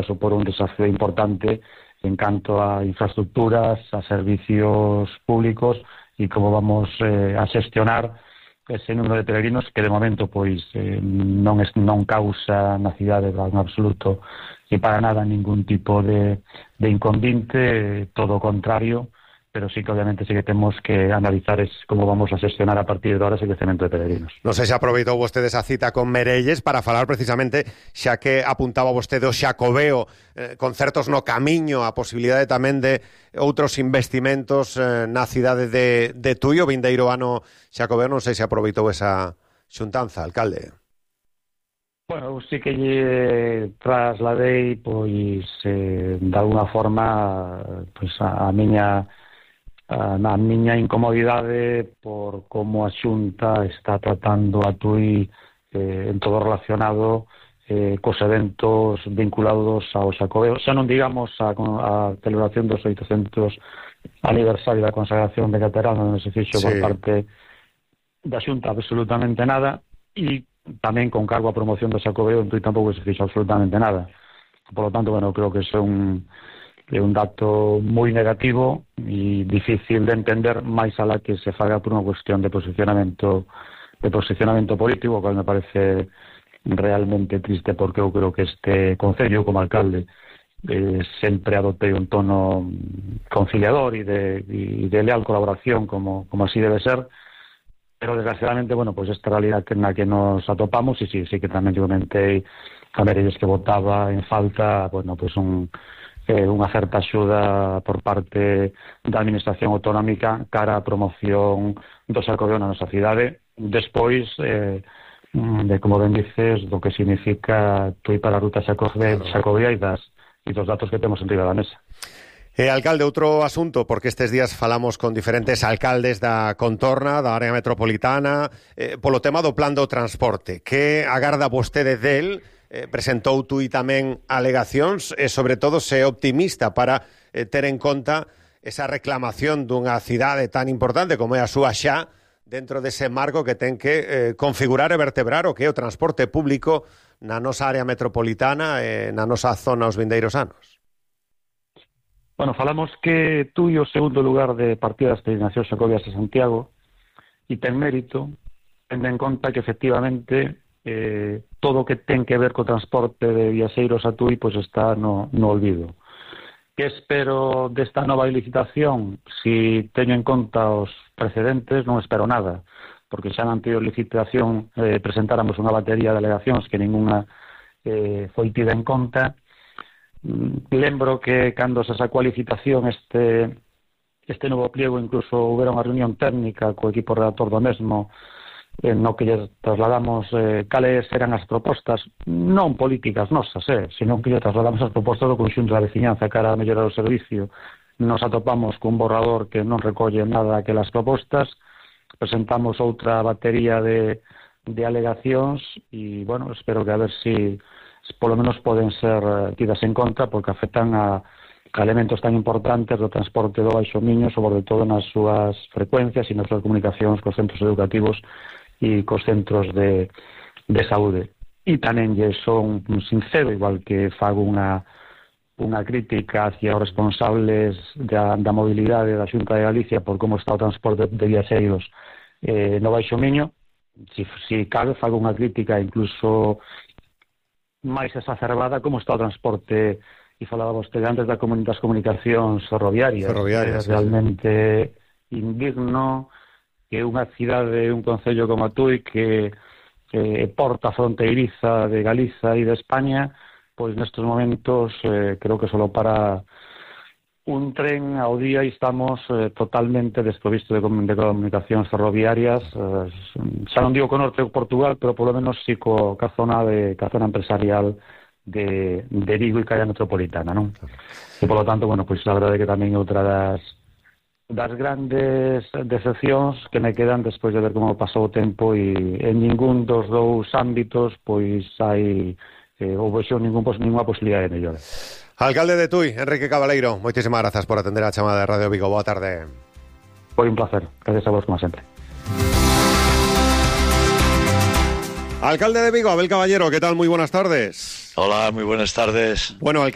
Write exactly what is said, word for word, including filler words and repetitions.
supor un desafío importante en canto a infraestructuras, a servicios públicos e como vamos eh, a xestionar ese número de peregrinos que de momento pois eh, non, es, non causa na cidade en absoluto e para nada ningún tipo de, de inconvinte, todo o contrario, pero sí que obviamente sí que temos que analizar es como vamos a xestionar a partir de ahora ese crecemento de peregrinos. Non sei se aproveitou vostede esa cita con Merelles para falar precisamente, xa que apuntaba vostede o Xacobeo, eh, concertos no camiño, a posibilidade tamén de outros investimentos eh, na cidade de, de Tui, o vindeiro ano Xacobeo, non sei se aproveitou esa xuntanza, alcalde. Bueno, sí que lle trasladei, pois, eh, de alguna forma, pois, a, a miña a miña incomodidade por como a Xunta está tratando a Tui eh, en todo relacionado eh, cos eventos vinculados ao Xacobeo. Xa non digamos a, a celebración dos oitocentos aniversario da consagración de Caterán, non se fixo sí. por parte da Xunta absolutamente nada, e tamén con cargo a promoción do Xacobeo en Tui tampouco se fixo absolutamente nada. Por lo tanto, bueno, creo que é un é un dato moi negativo e difícil de entender, máis alá que se faga por unha cuestión de posicionamento de posicionamento político, que me parece realmente triste, porque eu creo que este concello, como alcalde, eh, sempre adoptei un tono conciliador e de, e de leal colaboración, como, como así debe ser, pero desgraciadamente, bueno, pues esta realidad na que nos atopamos, e sí, sí que tamén yo comentei a Merelles que votaba en falta, bueno, pues un Eh, unha certa axuda por parte da Administración Autonómica cara a promoción do Xacobeo na nosa cidade, despois eh, de, como ben dices, do que significa Tui para a ruta Xacobea e, das, e dos datos que temos en riba da mesa. Eh, alcalde, outro asunto, porque estes días falamos con diferentes alcaldes da contorna, da área metropolitana, eh, polo tema do plan do transporte. Que agarda vostede del? Eh, presentou Tui tamén alegacións e, sobre todo, se optimista para eh, ter en conta esa reclamación dunha cidade tan importante como é a súa xa dentro dese marco que ten que eh, configurar e vertebrar o que é o transporte público na nosa área metropolitana e na nosa zona os vindeiros anos. Bueno, falamos que Tui o segundo lugar de partida das peregrinacións Xacobeas a Santiago e ten mérito, tendo en conta que efectivamente eh, todo o que ten que ver co transporte de viaxeiros a Tui pois está no, no olvido. Que espero desta nova licitación? Si teño en conta os precedentes, non espero nada, porque xa na anterior licitación eh, presentáramos unha batería de alegacións que ninguna eh, foi tida en conta. Mm, lembro que cando se sacou a licitación este, este novo pliego, incluso houbera unha reunión técnica co equipo redactor do mesmo, Eh, no que lle trasladamos eh, cales eran as propostas, non políticas nosas, eh, sino que lle trasladamos as propostas do conxunto da veciñanza cara a mellorar o servicio. Nos atopamos cun borrador que non recolle nada aquelas propostas, presentamos outra batería de, de alegacións e, bueno, espero que a ver si polo menos poden ser tidas en conta, porque afectan a, a elementos tan importantes do transporte do Baixo Miño, sobre todo nas súas frecuencias e nas súas comunicacións cos centros educativos e cos centros de, de saúde. E tamén lle son sincero, igual que fago unha, unha crítica hacia os responsables da, da mobilidade da Xunta de Galicia por como está o transporte de viaxeiros eh, no Baixo Miño. Si, si cabe, fago unha crítica incluso máis exacerbada como está o transporte, e falaba vostede antes da comuni- das comunicacións ferroviarias. Ferroviarias, é realmente sí. Indigno que unha cidade, un concello como a Tui, que, que porta fronteiriza de Galiza e de España, pois nestes momentos eh, creo que solo para un tren ao día e estamos eh, totalmente desprovisto de, de comunicacións ferroviarias, eh, xa non digo co norte de Portugal, pero polo menos sí co, ca zona de ca zona empresarial de, de Vigo e ca área metropolitana, non? E polo tanto, bueno, pois a verdade é que tamén outra das das grandes decepcións que me quedan despois de ver como pasou o tempo, e en ningún dos dous ámbitos pois hai eh, ou vexo ningún, pos, ninguna posibilidade de mellora. Alcalde de Tui, Enrique Cabaleiro, moitísimas grazas por atender a chamada de Radio Vigo. Boa tarde. Foi un placer, gracias a vos como sempre. Alcalde de Vigo, Abel Caballero, ¿qué tal? Muy buenas tardes. Hola, muy buenas tardes. Bueno,